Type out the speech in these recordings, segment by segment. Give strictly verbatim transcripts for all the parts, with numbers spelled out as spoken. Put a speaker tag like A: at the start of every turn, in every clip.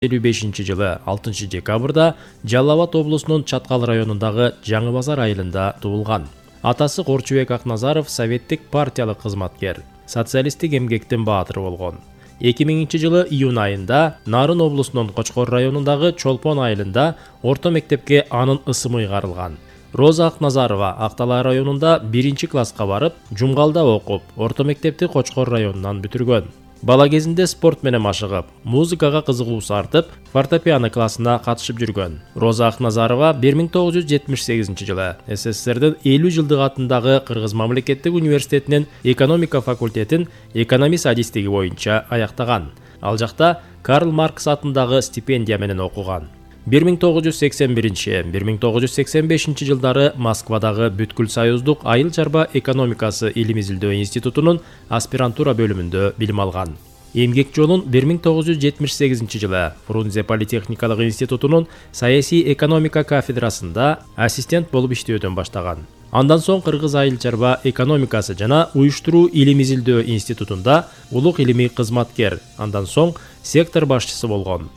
A: элүү бешинчи жылы алтынчы декабрда Жалал Абад облусунун Чаткал районундагы Жаңы Базар айылында туулган. Атасы Корчубек Акназаров советтик партиялык кызматкер, социалисттик эмгектин баатыры болгон. эки миңинчи жылы июнь айында Нарын облусунун Кочкор районундагы Чолпон айылында орто мектепке анын ысымы ыйгарылган. Роза Акназарова Актала районунда биринчи класска барып, Жумгалда окуп, орто мектепти Кочкор районунан бүтүргөн. Бала кезинде спорт менен машыгып, музыкага кызыгуусу артып, фортепиано классына катышып жүргөн. Роза Акназарова бир миң тогуз жүз жетимиш сегизинчи жылы СССРдин элүү жылдык атындагы Кыргыз мамлекеттик университетинин экономика факультетин экономист адистиги боюнча аяктаган. Ал жакта Карл Маркс атындагы стипендия менен окуган. бир миң тогуз жүз сексен биринчи — бир миң тогуз жүз сексен бешинчи жылдары Москвадагы Бүткүл Союздук айыл чарба экономикасы илим изилдөө институтунун аспирантура бөлүмүндө билим алган. Эмгек жолун бир миң тогуз жүз жетимиш сегизинчи жылы Фрунзе политехникалык институтунун саясий экономика кафедрасында ассистент болуп иштөөдөн баштаган. Андан соң Кыргыз айыл чарба экономикасы жана уюштуруу илим изилдөө институтунда улук илимий кызматкер, андан соң сектор башчысы болгон.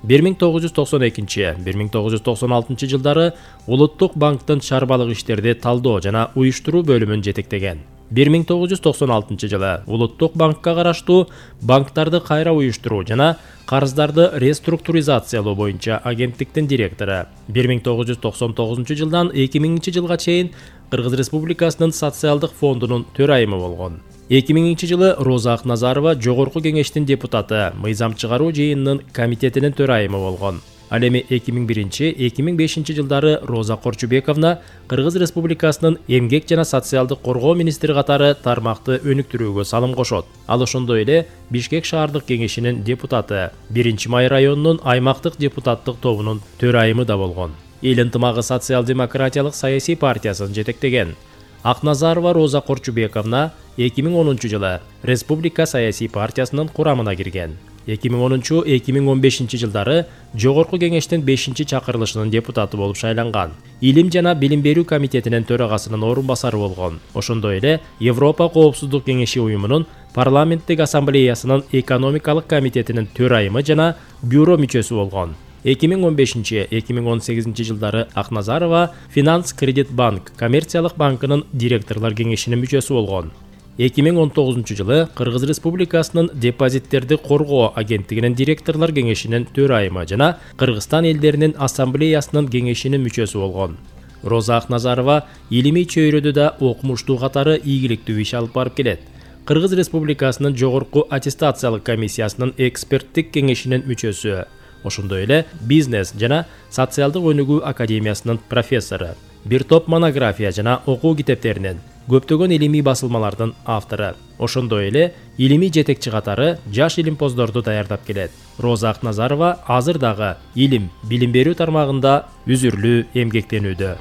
A: бир миң тогуз жүз токсон экинчи — бир миң тогуз жүз токсон алтынчы жылдары Улуттук банктын чарбалык иштерди талдоо жана уюштуруу бөлүмүн жетектеген. бир миң тогуз жүз токсон алтынчы жылы Улуттук банкка караштуу банктарды кайра уюштуруу жана карыздарды реструктуризациялоо боюнча агенттиктин директору. бир миң тогуз жүз токсон тогузунчу жылдан эки миңинчи жылга чейин Кыргыз Республикасынын социалдык фондунун төрайымы болгон. эки миңинчи жылы Роза Акназарова Жогорку кеңештин депутаты, мыйзам чыгаруу жыйынынын комитетинин төрайымы болгон. Ал эми эки миң биринчи — эки миң бешинчи жылдары Роза Корчубековна Кыргыз Республикасынын эмгек жана социалдык коргоо министри катары тармакты өнүктүрүүгө салым кошот. Ал ошондой эле Бишкек шаардык кеңешинин депутаты, биринчи май районунун аймактык депутаттык тобунун төрайымы да болгон. Эл ынтымагы социал-демократиялык саясий партиясын жетектеген. Акназарова Роза Корчубековна эки миң онунчу жылы Республика саясий партиясынын курамына кирген. эки миң онунчу — эки миң он бешинчи жылдары Жогорку кеңештин бешинчи чакырылышынын депутаты болуп шайланган. Илим жана билим берүү комитетинин төрагасынын орун басары болгон. Ошондой эле Европа коопсуздук кеңеши уюмунун парламенттик ассамблеясынын экономикалык комитетинин төрайымы жана бюро мүчөсү болгон. эки миң он бешинчи — эки миң он сегизинчи жылдары Акназарова Финанс Кредит банк коммерциялык банкынын директорлор кеңешинин мүчөсү болгон. эки миң он тогузунчу жылы Кыргыз Республикасынын депозиттерди коргоо агенттигинин директорлор кеңешинин төрайымы жана Кыргызстан элдеринин ассамблеясынын кеңешинин мүчөсү болгон. Роза Акназарова илимий чөйрөдө да окумуштуу катары ийгиликтүү иш алып барып келет. Кыргыз Республикасынын жогорку аттестациялык комиссиясынын эксперттик кеңешинин мүчөсү. Ошондой эле бизнес жана социалдык өнүгүү академиясынын профессору. Бир топ монография жана окуу китептеринин, көптөгөн илимий басылмалардын автору. Ошондой эле илимий жетекчи катары жаш илимпоздорду даярдап келет. Роза Акназарова азыр дагы илим, билим берүү тармагында үзүрлүү эмгектенүүдө.